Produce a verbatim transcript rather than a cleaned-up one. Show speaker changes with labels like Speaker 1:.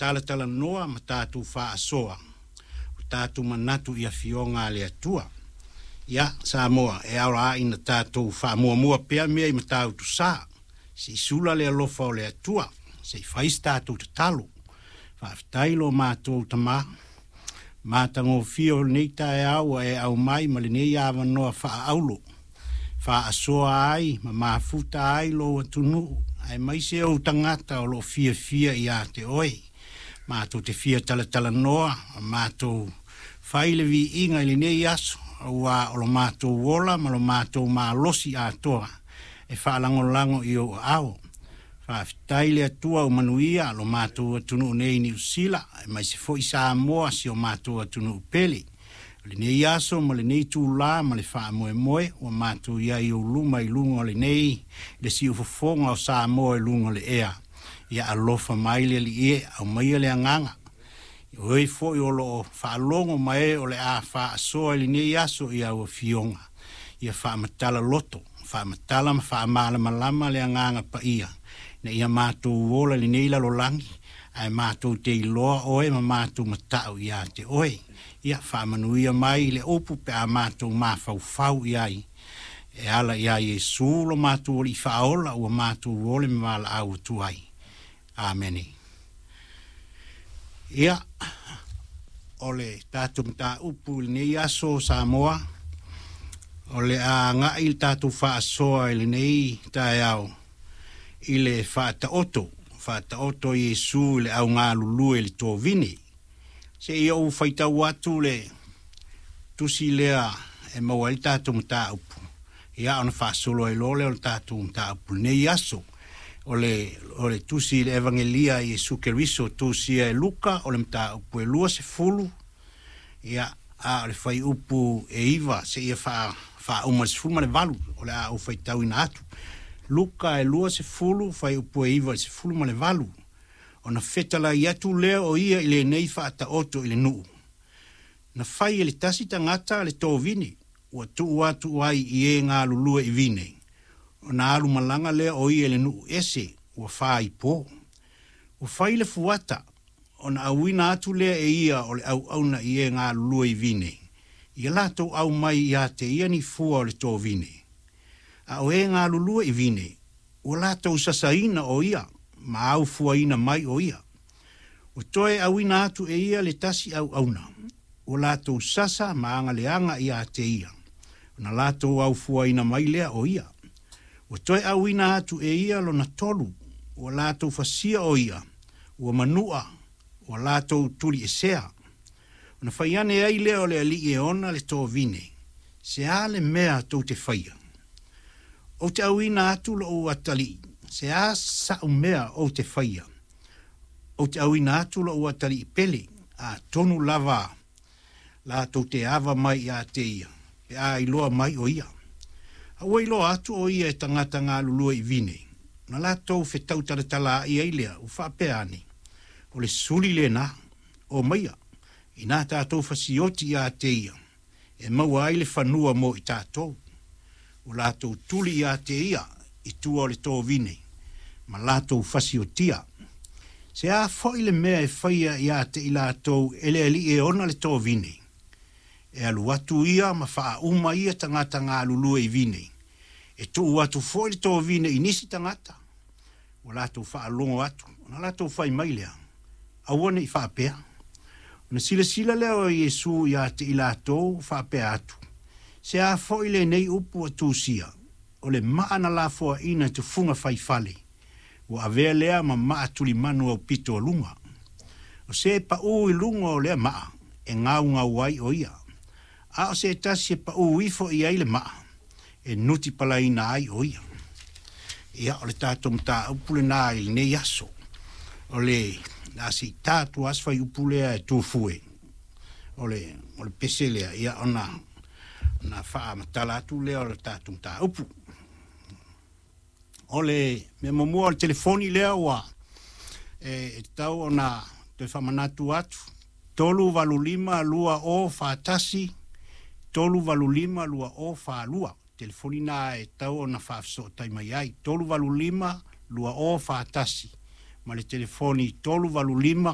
Speaker 1: Talatalanoa ma tatou faasoa o tatou manatu i afioga a le Atua. Ia, Samoa, e ao lava ina tatou faamuamua pea mea i Matautu Sa, se i sula le alofa o le Atua, se i fai se tatou tatalo. Faafetai lo matou Tamā matagofie o lenei taeao ua e aumai ma lenei avanoa faaauro faasoa ai ma mafuta ai lou atunuu aemaise ou tagata o loo fiafia ia te oe. Matou te fia talatalanoa ma matou fai le viiga i lenei aso, auā o lo matou ola ma lo matou malosi atoa e faalagolago i ou aao. Faafetai le Atua ua manuia lo matou atunuu nei i Niusila aemaise foi Samoa, si o matou atunuu pele. O lenei aso ma lenei itulā ma le faamoemoe ua matou i ai i ou luma i luga o lenei le siufofoga o Samoa i luga o le ea. Ia alofa mai le Alii e, aumaia le agaga o e foi o loo faalogo ma e o le a faasoa i lenei aso i au afioga. Ia faamatala loto, faamatala ma faamalamalama le agaga paia ina ia matou ola i lenei lalolagi ae matou te iloa oe ma matou matau ia te oe. Ia faamanuia mai le upu pe a matou mafaufau i ai e ala iā Iesu lo matou Alii Faaola ua matou ole ma valaau atu ai. Amene. Ia, o le tatou mataupu i lenei aso, Samoa, o le a agai le tatou faasoa i lenei taeao i le faataoto faataoto Iesu i le augalulue i le tovine. Se i ou faitau atu le tusi lea e maua ai le tatou mataupu, ia, ona faasolo ai loa lea o le tatou mataupu lenei aso. O le, o le tusi i le Evagelia Iesu Keriso tusia e Luka, o le mataupu e lua sefulu, ia, a o le fuaiupu e iva seia faa faauma le sefulu ma le valu o le a ou faitauina atu. Luka e lua sefulu, fuaiupu e iva i le sefulu ma le valu. Ona fetalai atu lea o ia i lenei faataoto i le nuu. Na fai e le tasi tagata le tovine, ua tuu atu ai i e galulue i vine. Ona alu malaga lea o ia i le nuu ese ua faaipo. Ua fai le fuata, ona auina atu lea e ia o le auauna i e galulue i vine, ia latou aumai ia te ia ni fua o le tovine. A o e galulue i vine, ua latou sasaina o ia ma aufuaina mai o ia. Ua toe auina atu e ia le tasi auauna, ua latou sasa ma agaleaga ia te ia, ona latou aufuaina mai lea o ia. Ua toe auina atu e ia lona tolu, ua latou fasia o ia, ua manua, ua latou tuliesea. Ona fai ane ai lea o le alii e ona le tovine, se a le mea tou te faia? Ou te auina atu lou atalii, se a sa'u mea ou te faia? Ou te auina atu lou atalii pele, atonu lava latou te ava mai ia te ia, pe a iloa mai o ia. A ua iloa atu o ia e tagata galulue i vine, na latou fetautalatalaai ai lea, ua faapea ane, o le suli lenā, omaia, inā tatou fasioti ia te ia, e maua ai le fanua mo i tatou. Ua latou tuli ia te ia i tua o le tovine, ma latou fasiotia. Se a foi le mea e faia ia te i latou e le alii e ona le tovine? E alu atu ia ma faauma ia tagata galulue i vine. E tuu atu foi le tovine i nisi tagata. Ua latou faalogo atu, ona latou fai mai lea, aua ne i faapea. Ona silasila lea o Iesu ia te i latou faapea atu, se a foi lenei upu ua tusia, o le maa na lafoaina e tufuga faifale, ua avea lea ma maa tulimanu aupito o luga. O se paū i luga o lea maa, e gaugau ai o ia. A o se tasi e paū ifo i ai le maa, e nuti palaina ai o ia. Ia, o le tatou mataupu lenā i lenei aso. O le a se i ta atu lava se fuaiupu lea e tufue. O le, o le pese lea, ia ona, ona faamatala atu lea o le tatou mataupu. O le mea muamua o le telefoni lea ua e, e tatau ona toe faamanatu atu. Tolu valu lima lua o fa tasi, tolu valu lima lua o fa lua. Telefoni na e tatau ona faafesootai mai ai. Tolu valu lima lua o fa tasi. Ma le telefoni tolu valu lima